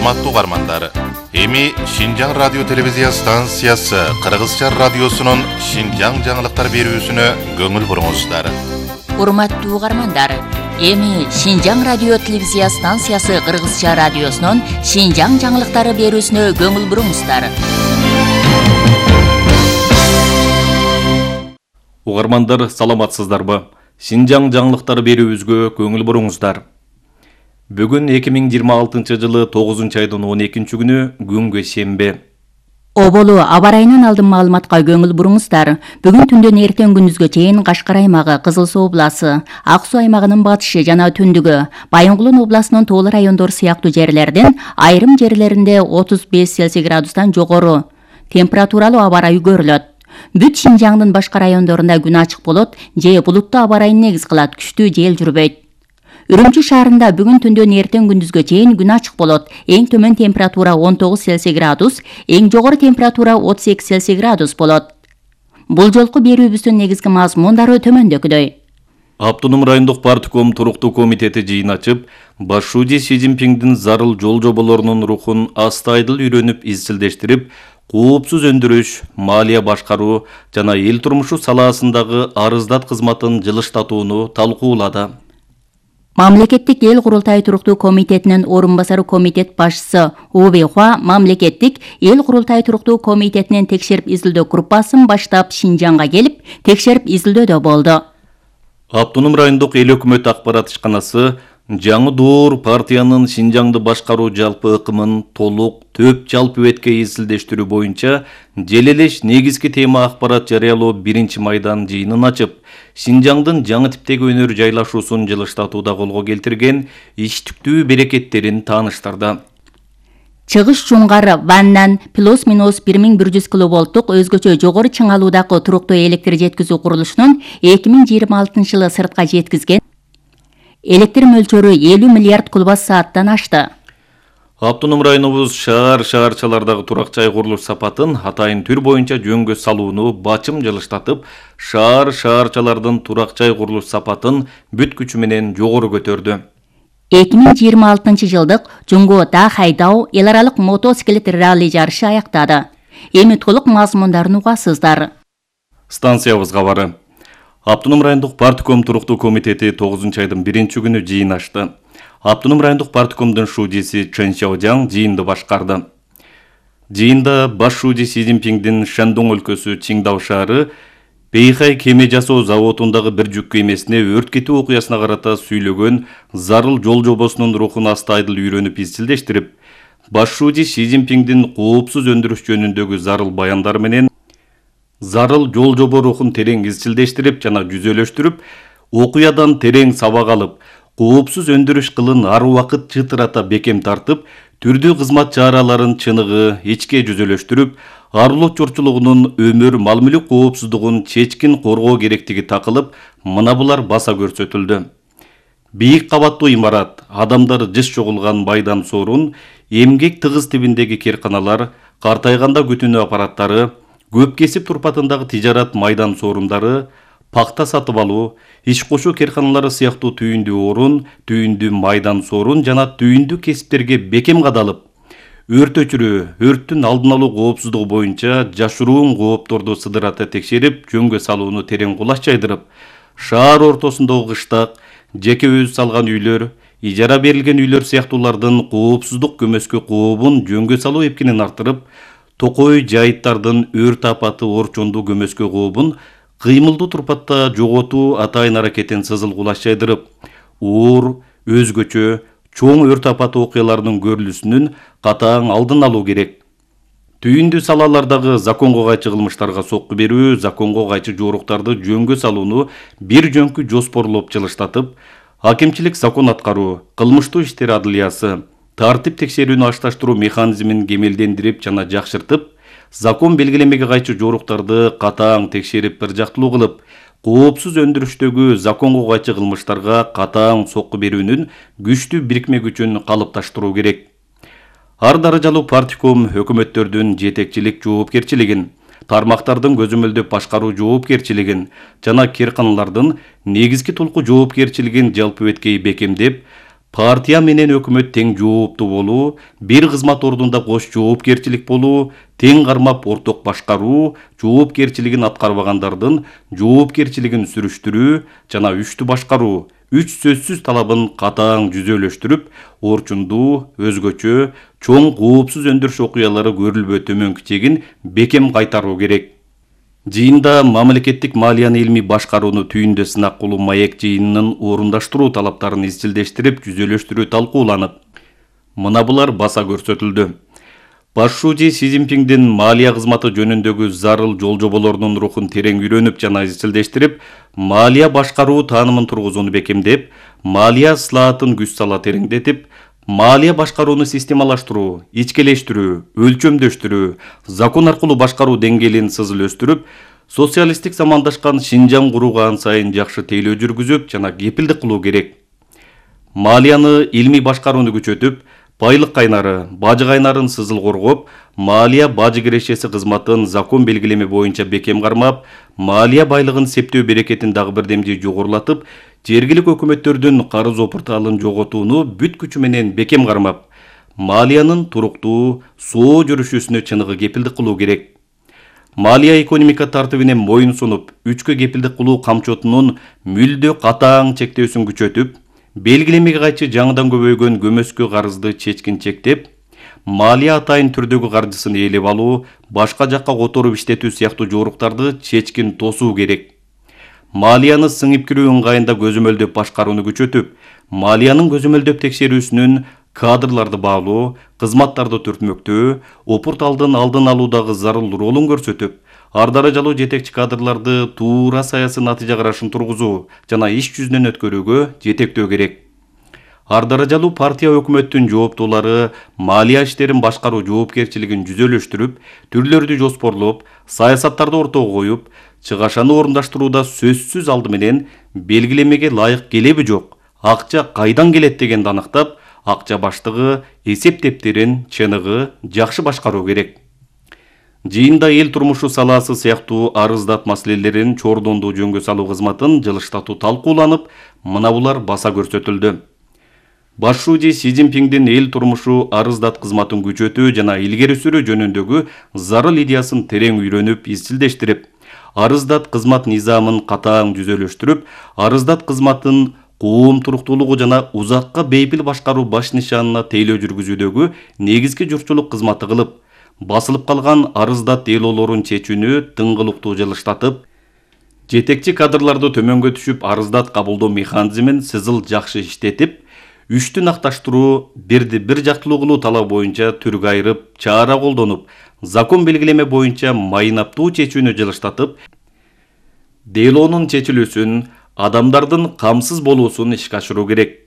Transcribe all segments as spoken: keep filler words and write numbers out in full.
Урматтуу угармандар, эми Шинжаң радио телевизия станциясы Кыргызча радиосунун Шинжаң жаңылыктар берүүсүнө көңүл буруңуздар. Урматтуу угармандар, эми Шинжаң радио телевизия станциясы Кыргызча радиосунун Шинжаң жаңылыктары берүүсүнө көңүл буруңуздар. Угармандар, саламатсыздарбы? Шинжаң жаңылыктары берүүбүзгө көңүл буруңуздар. Бүгүн эки миң жыйырма алтынчы жылы тогузунчу айдын он экинчи күнү күнгө шембе. Оболу аба ырайынан алдын маалыматка көңүл буруңуздар. Бүгүн түндөн эртең күндүзгө чейин Кашкар аймагы, Кызыл Суу обласы, Ак Суу аймагынын батышы жана түндүгү, Байынгулун обласынын тоол райондору сыяктуу жерлерден айрым жерлеринде отуз беш Цельсий градустан жогору температуралуу аба ырайы көрүлөт. Бүт Шинжаңдын башка райондорунда күн ачык болот же булуттуу аба ырайын негиз кылат, күчтүү жел жүрбөйт. Үрүмчү шаарында бүгүн түндөн эртең күндүзгө чейин күн ачык болот. Эң төмөн температура он тогуз Цельсий градус, эң жогору температура отуз эки Цельсий градус болот. Бул жолку берүүбүздүн негизги мазмундары төмөндөгүдөй. Автоном райондук партком туруктуу комитети жыйын ачып, баш шууji Си Цзиньпиңдин зарыл жол жоболорунун рухун астайдыл үйрөнүп изчилдештирип, коопсуз өндүрүш, малия башкаруу жана эл турмушу салаасындагы арыздат кызматын жылыштатууну талкуулады. Мамлекеттик эл курултайы туруктуу комитетинин орун басары комитет башчысы Убей Хуа мамлекеттик эл курултайы туруктуу комитетинин текшерип изилдөө группасын баштап Шинжаңга келип, текшерип изилдөөдө болду. Автоном райондук эл өкмөт акбарат ишканасы жаңы доор партиянын Шинжаңды башкаруу жалпы ыкымын толук төп жалпы бетке изилдештирүү боюнча желелеш негизги тема акбарат жарыялоо биринчи майдан жыйынын ачып, Шинжаңдын жаңы типтеги өнөр жайлашуусун жылыштатууда колго келтирген иштиктүү берекеттерин тааныштырды. Чыгыш Чуңгар Ваннан плюс-минус бир миң бир жүз киловолттук өзгөчө жогору чыңалуудагы туруктуу электр жеткизүү курулушунун эки миң жыйырма алтынчы жылы сыртка жеткизген электр мөлчөрү элүү миллиард куб сааттан ашты. Автоном районубуз шаар шаарчалардагы турак жай курулуш сапатын атайын түр боюнча жөнгө салууну бачым жылыштатып, шаар шаарчалардын турак жай курулуш сапатын бүт күчү менен жогору көтөрдү. эки миң жыйырма алтынчы жылдык Жуңго Дахайдау эл аралык мотоциклет ралли жарышы аяктады. Эми толук мазмундарын угасыздар. Станциябызга бары. Автоном райондук партком туруктуу комитети тогузунчу айдын биринчи күнү жыйын ачты. Автоном райондук парткомдун шуудиси Чен Сяожаң жыйынды башкарды. Жыйында баш шууji Си Цзиньпиңдин Шандong өлкөсү Чиңдау шаары Бейхай кеме жасоо заводундагы бир жүк кемесине өрт кетүү окуясына карата сүйлөгөн зарыл жол жобосунун рухун астайдыл үйрөнүп изчилдештирип, баш шууji Си Цзиньпиңдин коопсуз өндүрүш жөнүндөгү зарыл баяндары менен зарыл жол жобо рухун терең изчилдештирип жана жүзөлөштүрүп, окуядан терең сабак алып, коопсуз өндүрүш кылын ар убакыт чытырата бекем тартып, түрдүү кызмат чараларын чыныгы ичке жүзөлөштүрүп, арылуу чорчулугунун өмүр мал-мүлүк коопсуздугун чечкин коргоо керектиги такылып, мына булар баса көрсөтүлдү. Бийик кабаттуу имарат, адамдар жыш чогулган майдан сорун, эмгек тыгыз тибиндеги керканалар, картайганда күтүүнү аппараттары, көп кесип турпатындагы тижарат майдан сорундары, пакта сатып алуу, иш кошуу керканалары сыяктуу түйүндүү орун, түйүндүү майдан сорун жана түйүндүү кесиптерге бекем кадалып, өрт өчүрүү, өрттүн алдын алуу коопсуздугу боюнча жашыруун коопторду сыдырата текшерип, жөнгө салууну терең кулаш жайдырып, шаар ортосундагы кыштак, жеке өз салган үйлөр, ижара берилген үйлөр сыяктуулардын коопсуздук көмөскө кообун жөнгө салуу эпкинин артырып, токой жайыттардын өрт апаты орчондуу көмөскө кообун кыймылдуу турпатта жоготуу атайын аракетин сызыл кулаш жайдырып, оор, өзгөчө, чоң өрт апаты окуяларынын көрүлүшүнүн катаң алдын алуу керек. Түйүндүү салалардагы законго кайчы кылмыштарга сокку берүү, законго кайчы жоруктарды жөнгө салууну бир жөнкү жоспорлоп жылыштатып, акимчилик закон аткаруу, кылмыштуу иштер адылиясы, тартип текшерүүнү ашташтыруу механизмин кемелдендирип жана жакшыртып, закон белгилемеге кайчы жоруктарды катаң текшерип бир жактылуу кылып, коопсуз өндүрүштөгү законго кайчы кылмыштарга катаң сокку берүүнүн күчтүү бирикме күчүн калыпташтыруу керек. Ар даражалуу партком өкмөттөрдүн жетекчилик жоопкерчилигин, тармактардын көзөмөлдөп башкаруу жоопкерчилигин жана керканалардын негизги толку жоопкерчилигин жалпы беткей бекемдеп, партия менен өкмөт тең жооптуу болуу, бир кызмат ордунда кош жоопкерчилик болуу, тең кармап орток башкаруу, жоопкерчилигин аткарбагандардын жоопкерчилигин сүрүштүрүү жана үчтүү башкаруу үч сөзсүз талабын катаң жүзөлөштүрүп, орчундуу, өзгөчө, чоң коопсуз өндүрүш окуялары көрүлбөө төмөнкү чегин бекем кайтаруу керек. Жыйында мамлекеттик малияны илмий башкарууну түйүндө сынак кылуу маек жыйынынын орундаштыруу талаптарын изчилдештирип, жүзөлөштүрүү талкууланып, мына булар баса көрсөтүлдү. Башчы Си Цзиньпиндин малия кызматы жөнүндөгү зарыл жол-жоболорунун рухун терең үйрөнүп жана изчилдештирип, малия башкаруу таанымын тургузууну бекемдеп, малия ыслаатын күч сала тереңдетип, малия башкарууну системалаштыруу, ичкелештирүү, өлчөмдөштүрүү, закон аркылуу башкаруу деңгээлин сызыл өстүрүп, социалисттик замандашкан Шинжаң курууга ан сайын жакшы тейлөө жүргүзүп жана кепилдик кылуу керек. Малияны илмий башкарууну күчөтүп, байлык кайнары, бажы кайнарын сызыл коргоп, малия бажы кирешеси кызматын закон белгилеме боюнча бекем кармап, малия байлыгын септөө берекетин дагы бирдемдей жогорулатып, жергилик өкмөттөрдүн карыз опурталын жоготууну бүт күчү менен бекем кармап, малиянын туруктуу, соо жүрүшүсүнө чыныгы кепилдик кылуу керек. Малия экономика тартибине моюн сунуп, үчкө кепилдик кылуу камчотунун мүлдө катаң чектөөсүн күчөтүп, белгилемеге кайчы жаңыдан көбөйгөн көмөскө карызды чечкин чектеп, малия атайын түрдөгү каржысын ээлеп алуу, башка жакка которуп иштетүү сыяктуу жоруктарды чечкин тосуу керек. Малияны сыңып кирүү ыңгайында көзөмөлдөп башкарууну күчөтүп, малиянын көзөмөлдөп текшерүүсүнүн кадрларды баалоо, кызматтарды түртмөктөө, опурталдын алдын алуудагы зарыл ролун көрсөтүп, ар даражалуу жетекчи кадрларды туура саясий натыйжа карашын тургузуу жана иш жүзүнөн өткөрүүгө жетектөө керек. Ар даражалуу партия өкмөттүн жооптуулары малия иштерин башкаруу жоопкерчилигин жүзөлөштүрүп, түрлөрдү жоспорлоп, саясаттарды ортого коюп, чыгашаны орундаштырууда сөзсүз алды менен белгилемеге лайык келеби жок, акча кайдан келет дегенди аныктап, акча баштыгы, эсеп дептерин чыныгы жакшы башкаруу керек. Жыйында эл турмушу салаасы сыяктуу арыздат маселелерин чордондуу жөнгө салуу кызматын жылыштатуу талкууланып, мына булар баса көрсөтүлдү. Башчы Си Цзиньпиндин эл турмушу арыздат кызматын күчөтүү жана илгери сүрүү жөнүндөгү зарыл идеясын терең үйрөнүп, изчилдештирип, арыздат кызмат низамын катаң жүзөлөштүрүп, арыздат кызматын коом туруктуулугу жана узакка бейпил башкаруу баш нишанына тейлөө жүргүзүүдөгү негизги журтчулук кызматы кылып, басылып калган арыздат делоолорун чечүүнү тыңгылыктуу жылыштатып, жетекчи кадрларды төмөнгө түшүп арыздат кабылдоо механизмин сызыл жакшы иштетип, үчтү накташтыруу, бирди бир жактылуу кылуу талабы боюнча түргө айырып, чара колдонуп, закон белгилеме боюнча майнаптуу чечүүнү жылыштатып, делоонун чечилүүсүн, адамдардын камсыз болуусун ишке ашыруу керек.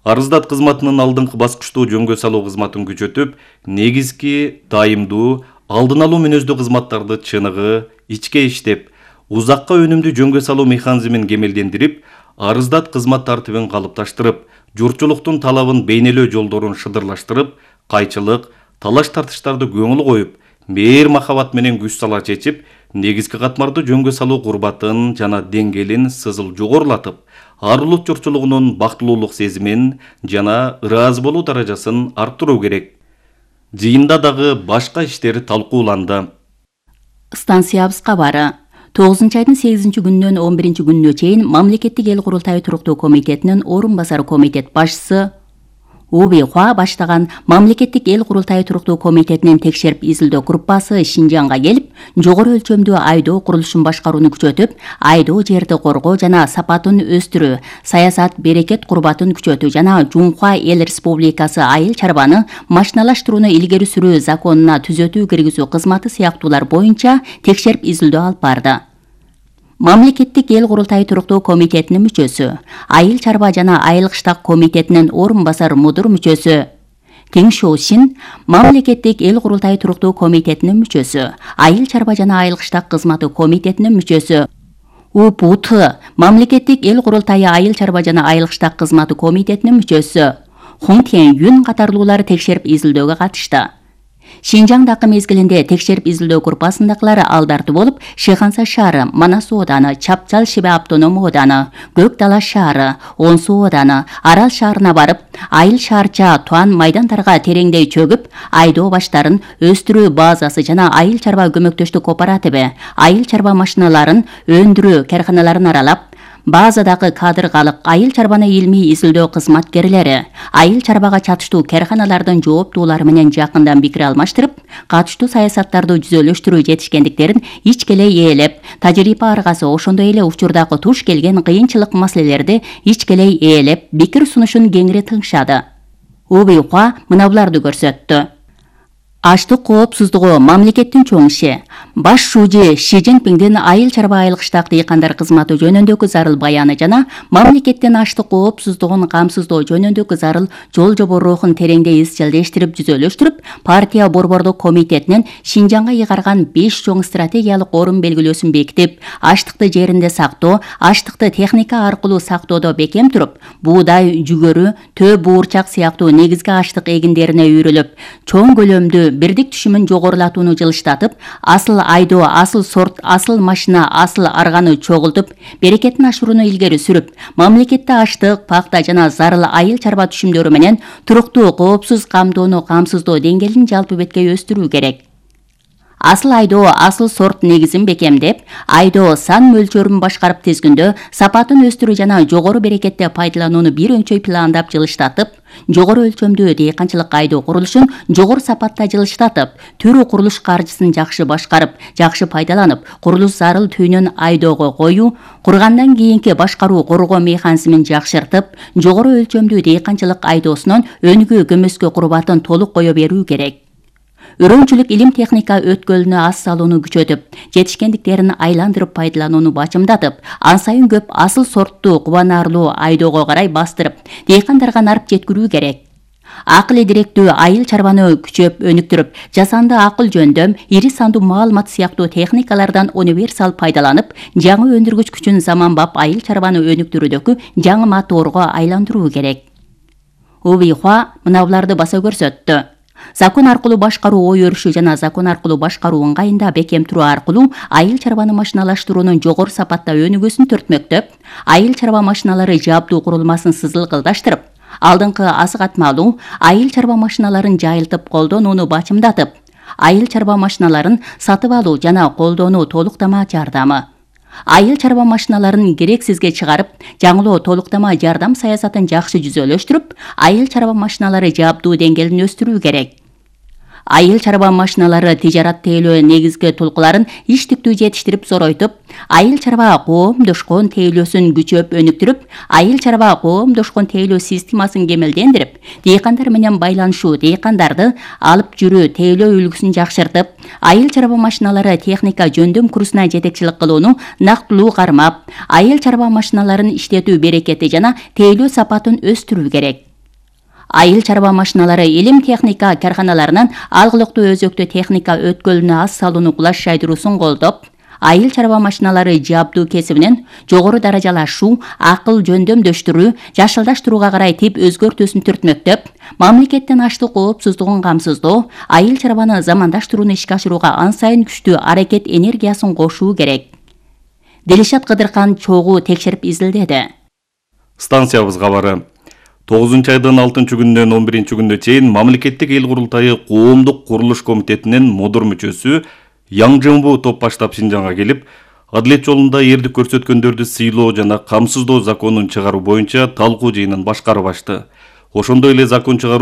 Арыздат кызматынын алдыңкы баскычтуу жөнгө салуу кызматын күчөтүп, негизги, дайымдуу, алдын алуу мүнөздүү кызматтарды чыныгы, ичке иштеп, узакка өнүмдүү жөнгө салуу механизмин кемелдендирип, арыздат кызмат тартибин калыпташтырып, журтчулуктун талабын бейнелөө жолдорун шыдырлаштырып, кайчылык, талаш-тартыштарды көңүл коюп, мээр махабат менен күч сала чечип, негизги катмарды жөнгө салуу курбатын жана деңгээлин сызыл жогорулатып, ар улут журтчулугунун бактылуулук сезимин жана ыраазы болуу даражасын арттыруу керек. Жыйында дагы башка иштер талкууланды. Станциябыз кабары. тогузунчу айдын сегизинчи күнүнөн он биринчи күнүнө чейин Мамлекеттик эл курултайы туруктуу комитетинин орун басары комитет башчысы Уби Хуа баштаган Мамлекеттик эл курултайы туруктуу комитетинин текшерип изилдөө группасы Шинжаңга келип, жогору өлчөмдүү айдоо курулушун башкарууну күчөтүп, айдоо жерди коргоо жана сапатын өстүрүү, саясат берекет курбатын күчөтүү жана Жунхуа эл республикасы айыл чарбаны машиналаштырууну илгери сүрүү законуна түзөтүү киргизүү кызматы сыяктуулар боюнча текшерип изилдөө алып барды. Мамлекеттик эл курултайы туруктуу комитетинин мүчөсү, айыл чарба жана айылык штаб комитетинин орун басар мудур мүчөсү Тиң Шоусин, Мамлекеттик эл курултайы туруктуу комитетинин мүчөсү, айыл чарба жана айылык штаб кызматы комитетинин мүчөсү У Пу Т, Мамлекеттик эл курултайы айыл чарба жана айылык штаб кызматы комитетинин мүчөсү Хун Тен Юн катарлуулар текшерип изилдөөгө катышты. Шинжаңдагы мезгилинде текшерип изилдөө группасындагылар алдарды болуп, Шыханса шаары, Манас ооданы, Чапчал Шибе автоном ооданы, Көк Дала шаары, Онсу ооданы, Арал шаарына барып, айыл шаарча Туан майдандарга тереңдей чөгүп, айдоо баштарын, өстүрүү базасы жана айыл чарба көмөктөштүк кооперативи, айыл чарба машиналарын өндүрүү карканаларын аралап, базадагы кадргалык айыл чарбаны илмий изилдөө кызматкерлери айыл чарбага чатыштуу карканалардын жооптуулары менен жакындан пикир алмаштырып, катыштуу саясаттарды жүзөлөштүрүү жетишкендиктерин ичкелей ээлеп, тажрыйба аргасы ошондой эле учурдагы туш келген кыйынчылык маселелерди ичкелей ээлеп, пикир сунушун кеңири тыңшады. УБИКа мына буларды көрсөттү. Аштык коопсуздугу мамлекеттин чоң иши. Баш шужи Ши Цзиньпиндин айыл чарба айылкыштак дыйкандар кызматы жөнүндөгү зарыл баяны жана мамлекеттин аштык коопсуздугун камсыздоо жөнүндөгү зарыл жол жоборухун тереңдей изчилдештирип жүзөлөштүрүп, партия борбордук комитетинин Шинжаңга ыйгарган беш чоң стратегиялык орун белгилөөсүн бекитип, аштыкты жеринде сактоо, аштыкты техника аркылуу сактоодо бекем туруп, буудай, жүгөрү, төө буурчак сыяктуу негизги аштык эгиндерине үйрүлүп, чоң көлөмдүү бирдик түшүмүн жогорулатууну жылыштатып, асыл айдоо, асыл сорт, асыл машина, асыл арганы чогултуп, берекетин ашырууну илгери сүрүп, мамлекетте аштык, пакта жана зарыл айыл чарба түшүмдөрү менен туруктуу, коопсуз камдоону камсыздоо деңгээлин жалпы бетке өстүрүү керек. Асыл айдоо, асыл сорт негизин бекемдеп, айдоо сан мөлчөрүн башкарып тизгиндөө, сапатын өстүрүү жана жогору берекетте пайдаланууну бир өнчөй пландап жылыштатып, жогору өлчөмдүү дыйканчылык айдоо курулушун жогору сапатта жылыштатып, түрүү курулуш каржысын жакшы башкарып, жакшы пайдаланып, курулуш зарыл түйүнөн айдоого коюу, кургандан кийинки башкаруу коргоо механизмин жакшыртып, жогору өлчөмдүү дыйканчылык айдоосунун өнүгүү көмөскө курбатын толук кое берүү керек. Өрөөнчүлүк илим техника өткөлүнө ас салууну күчөтүп, жетишкендиктерин айландырып пайдаланууну бачымдатып, ан сайын көп асыл сорттуу кубанаарлуу айдоого карай бастырып, дыйкандарга нарып жеткирүү керек. Акыл директүү айыл чарбаны күчөп өнүктүрүп, жасанды акыл жөндөм, ири сандуу маалымат сыяктуу техникалардан универсал пайдаланып, жаңы өндүргүч күчүн заманбап айыл чарбаны өнүктүрүүдөгү жаңы моторго айландыруу керек. УБИКа мына буларды баса көрсөттү. Закон аркылуу башкаруу ой өрүшү жана закон аркылуу башкаруу ыңгайында бекем туруу аркылуу айыл чарбаны машиналаштыруунун жогору сапатта өнүгүүсүн төртмөктөп, айыл чарба машиналары жабдуу курулмасын сызылгылдаштырып, алдыңкы азык атмалуу айыл чарба машиналарын жайылтып колдонууну бачымдатып, айыл чарба машиналарын сатып алуу жана колдонуу толуктама жардамы, айыл чарба машиналарын керексизге чыгарып, жаңылоо толуктама жардам саясатын жакшы жүзөлөштүрүп, айыл чарба машиналары жабдуу деңгээлин өстүрүү керек. Айыл чарба машиналары тижарат тейлөө негизги тулкуларын иштиктүү жетиштирип зоройтуп, айыл чарба коомдошкон тейлөөсүн күчөп өнүктүрүп, айыл чарба коомдошкон тейлөө системасын кемелдендирип, дыйкандар менен байланышуу, дыйкандарды алып жүрүү тейлөө үлгүсүн жакшыртып, айыл чарба машиналары техника жөндөм курсуна жетекчилик кылууну нактылуу кармап, айыл чарба машиналарын иштетүү берекети жана тейлөө сапатын өстүрүү керек. Айыл чарба машиналары илим техника карканаларынан алгылыктуу өзөктө техника өткөлүнө ас салууну кулаш жайдыруусун колдоп, айыл чарба машиналары жабдуу кесибинен жогору даражалашуу, акыл жөндөмдөштүрүү, жашылдаштырууга карай тип өзгөртүүсүн түртмөктөп, мамлекеттин аштык коопсуздугун камсыздоо, айыл чарбаны замандаштырууну ишке ашырууга ан сайын күчтүү аракет энергиясын кошуу керек. Дилишат Кыдыркан чогуу текшерип изилдеди. Станциябыз кабары. тогузунчу айдын алтынчы күнүнөн он биринчи күнүнө чейин мамлекеттик эл курултайы коомдук курулуш комитетинин модур мүчөсү Яң Жымбу топ баштап Шинжаңга келип, адилет жолунда эрдик көрсөткөндөрдү сыйлоо жана камсыздоо законун чыгаруу боюнча талкуу жыйынын башкарып ашты. Ошондой эле закон чыгаруу